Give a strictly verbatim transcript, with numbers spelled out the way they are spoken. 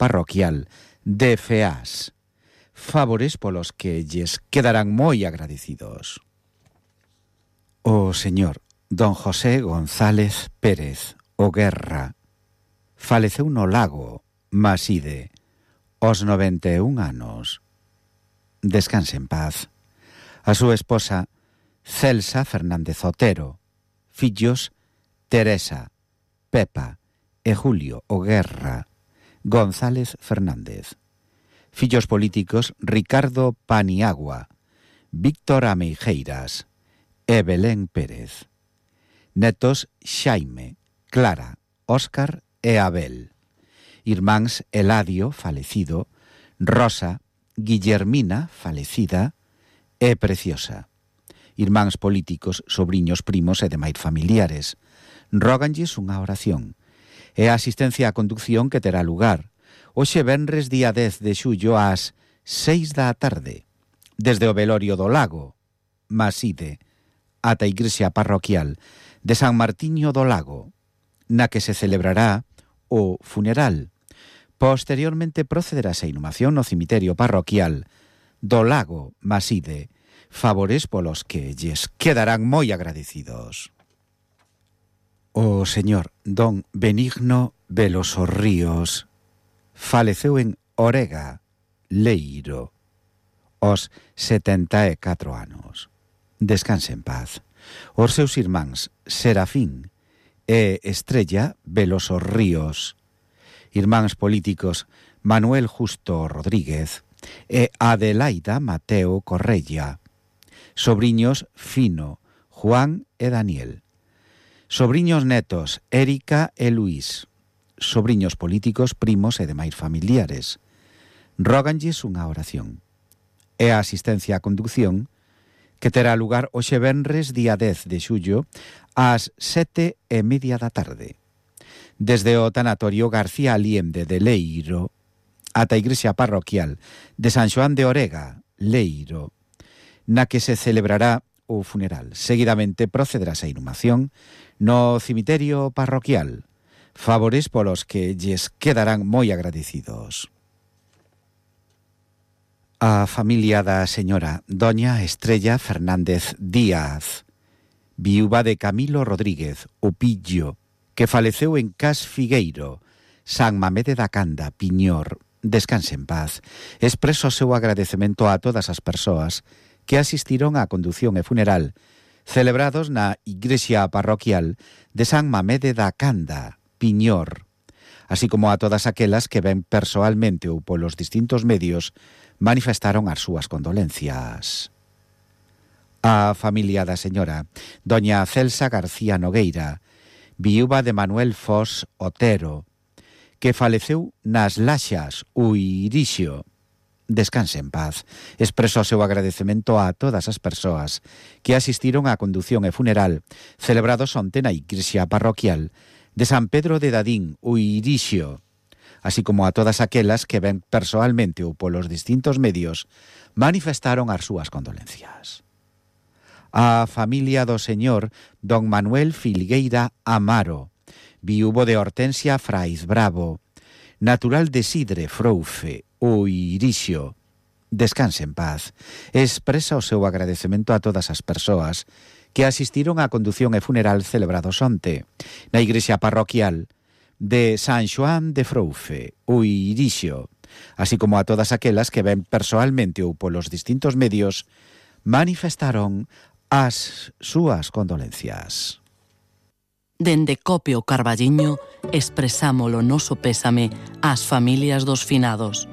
parroquial de Feás. Favores polos que lles quedarán moi agradecidos. O señor don José González Pérez o Guerra faleceu no lago Maside aos noventa e un anos. Descanse en paz. A súa esposa Celsa Fernández Otero, fillos Teresa, Pepa e Julio o Guerra González Fernández. Fillos políticos Ricardo Paniagua, Víctor Ameijeiras e Belén Pérez. Netos Xaime, Clara, Óscar e Abel. Irmáns Eladio, falecido, Rosa, Guillermina, falecida, e Preciosa. Irmáns políticos, sobriños, primos e demais familiares. Róganlles unha oración. E a asistencia á conducción que terá lugar hoxe venres día dez de xullo ás seis da tarde, desde o velorio do Lago, Maside, ata a igrexa parroquial de San Martiño do Lago, na que se celebrará o funeral. Posteriormente procederase a inhumación no cemiterio parroquial do Lago Maside, favores polos que lles quedarán moi agradecidos. O señor don Benigno Veloso Ríos faleceu en Orega, Leiro, aos setenta e catro anos. Descanse en paz. Os seus irmáns Serafín e Estrella Veloso Ríos, irmáns políticos Manuel Justo Rodríguez e Adelaida Mateo Correia, sobriños Fino, Juan e Daniel, sobriños netos Érica e Luís, sobriños políticos, primos e demais familiares. Róganlles unha oración. E a asistencia á conducción que terá lugar hoxe venres día dez de xullo ás sete e media da tarde, desde o tanatorio García Aliende de Leiro ata a igrexa parroquial de San Xoán de Orega, Leiro, na que se celebrará o funeral. Seguidamente procederá a inhumación no cemiterio parroquial, favores polos que lles quedarán moi agradecidos. A familia da señora doña Estrella Fernández Díaz, viúva de Camilo Rodríguez, o Pillo, que faleceu en Cas Figueiro, San Mamede da Canda, Piñor. Descanse en paz. Expreso o seu agradecemento a todas as persoas que asistiron á condución e funeral celebrados na igrexa parroquial de San Mamede da Canda, Piñor, así como a todas aquelas que ven persoalmente ou polos distintos medios manifestaron as súas condolencias. A familia da señora doña Celsa García Nogueira, viúva de Manuel Fos Otero, que faleceu nas Laxas, Uirixio. Descanse en paz. Expreso o seu agradecemento a todas as persoas que asistiron á condución e funeral celebrados onte na igrexa parroquial de San Pedro de Dadín, Uirixio, así como a todas aquelas que ven persoalmente ou polos distintos medios manifestaron as súas condolencias. A familia do señor don Manuel Filgueira Amaro, viúvo de Hortensia Fraiz Bravo, natural de Sidre Froufe, Uirixio. Descanse en paz. Expresa o seu agradecemento a todas as persoas que asistiron á condución e funeral celebrados onte na igrexa parroquial de San Xoán de Froufe, Uirixio, así como a todas aquelas que ven persoalmente ou polos distintos medios manifestaron as súas condolencias. Dende Copio Carballiño expresamos o noso pésame ás familias dos finados.